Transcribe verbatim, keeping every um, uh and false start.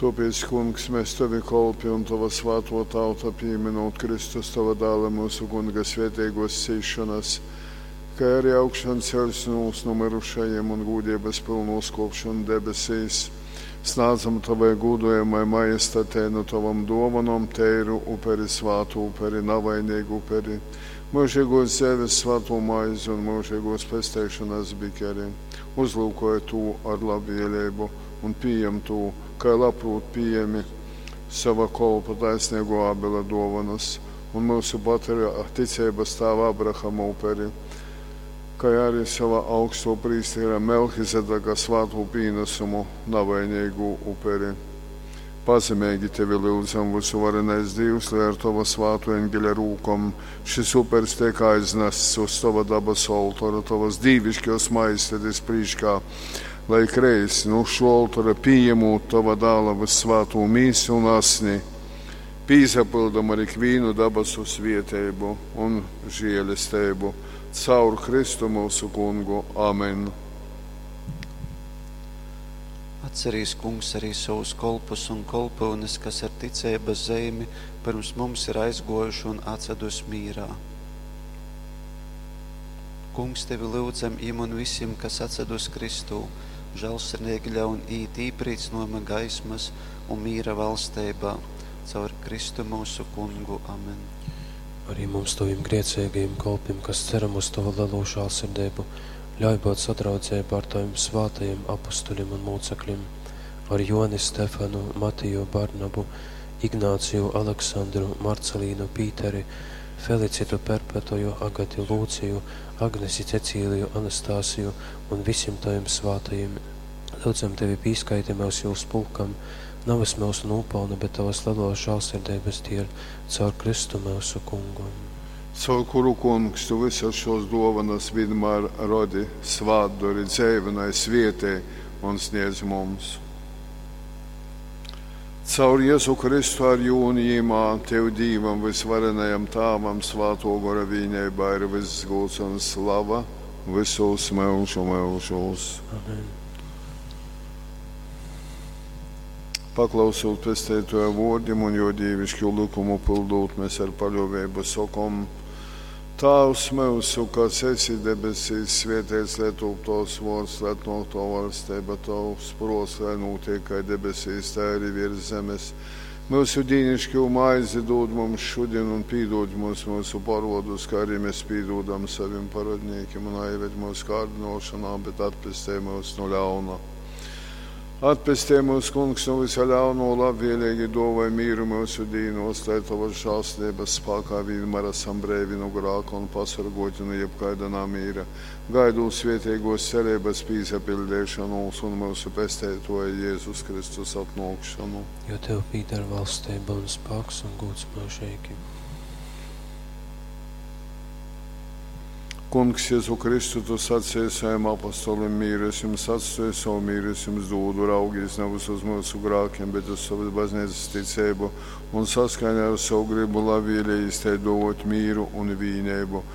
Tōpēc, Kungs, mēs tovi kolpi un tova svātō tauta, pīmynūt Kristus, tova dāla, myusu Kunga svēteigōs cīsšonas, kai arī augšanceļšonūs nu myrušajim un gūdeibas pylnu uzkōpšonu debesīs, snādzam tovai gūdojamai majestatei nu tovom dōvonom teiru uperi, svātu uperi, navaineigu uperi, myužeigōs dzeives svātū maizi un myužeigōs pesteišonas bikeri. Uzlyukoj tū ar labvēleibu un pījem tū, kai labprōt pījemi sova kolpa taisneigō Ābela dōvonas un myusu patriarha ticeibas tāva Abrahama uperi, kai arī sova augstō prīstera Melchizedeka svātū pīnasumu, navaineigū uperi. Pazemeigi tevi lyudzam, vysuvarenais Dīvs, lai ar tova svātō eņgeļa rūkom šys upers teik aiznasts uz tova dabasu oltora, tovas dīviškōs majestatis prīškā, lai ikreiz nu šō oltora pījemūt tova dāla vyssvātū mīsu un asni, pīsapyldam ar ikvīnu dabasu svieteibu un žēlesteibu caur Kristu myusu Kungu. Amen. Atcerīs, Kungs, arī sovus kolpus un kolpyunes, kas ar ticeibas zeimi pyrms mums ir aizgōjuši un atsadus mīrā. Kungs, tevi lyudzam, jim un visim, kas atsadus Kristū, žālsirdīgi ļaun iīt īprīcynōjuma gaismas un mīra valsteibā. Caur Kristu myusu Kungu. Amen. Arī mums, tovim grēcīgajiem kolpim, kas ceram uz tovu lelo žālsirdību, ļauj būt sadraudzeibā ar tavim svātajiem apustuļiem un mūcekļiem, ar Joni, Stefanu, Matiju, Barnabu, Ignāciju, Aleksandru, Marcelīnu, Pīteri, Felicitu, Perpetuju, Agati, Lūciju, Agnesi, Cecīliju, Anastasiju un visiem taviem svātajiem. Lūdzam tevi, pīskaiti mūs jūs pulkam, nevis mūsu nopelnu, bet tavas lielos žālsirdības dēļ, caur Kristu mūsu Kungu. Caur kuru, Kungs, tu visas šos dovanas vienmēr rodi, svātdori, dzeivinai, svietē un sniedz mums. Caur Jēzu Kristu ar jū un jīmā, Tev Dīvam, vysvarenajam Tāvam, svāto gora vīneibā ir viss gūds un slava visos myužu myužūs. Amen. Paklausūt pesteitoja vōrdim un jo dīvišķu likumu pildūt, mēs ar paļōveibu sokom: Tāvs myusu, kas esi debesīs, svētīts lai top tavs vōrds, lai atnāk tava valstība, tavs prōts, lai notiek kā debesīs, tā arī virs zemes. Myusu dīnišķo maizi dod mums šodien un pīdod mums mūsu parodus, kā arī mēs pīdodam saviem parodniekiem, un aizved mūsu kārdinošanā, bet atpestē mūs no ļauna. Atpestē mūs, Kungs, no visa ļauno, labvēlīgi dāvāj mīru mūsu dīnos, lai tavas žēlastības spēkā vienmēr esam brīvi no grāka un pasargoti no jebkaida namīra. Gaidot svētīgos cerības pīsapildīšanos un mūsu pestētoja Jēzus Kristus atnākšanu. Jo tev pīdar valstība un spēks un gods mūžīgi. Kungs, Jēzu Kristu, tu sacīji saviem apostolim, mīru es jums atstāju, savu mīru es jums dodu, raugies nevis uz mūsu grākiem, bet uz savas baznīcas ticību un saskaņā ar savu gribu labvēlīgi izteidot mīru un vīnību.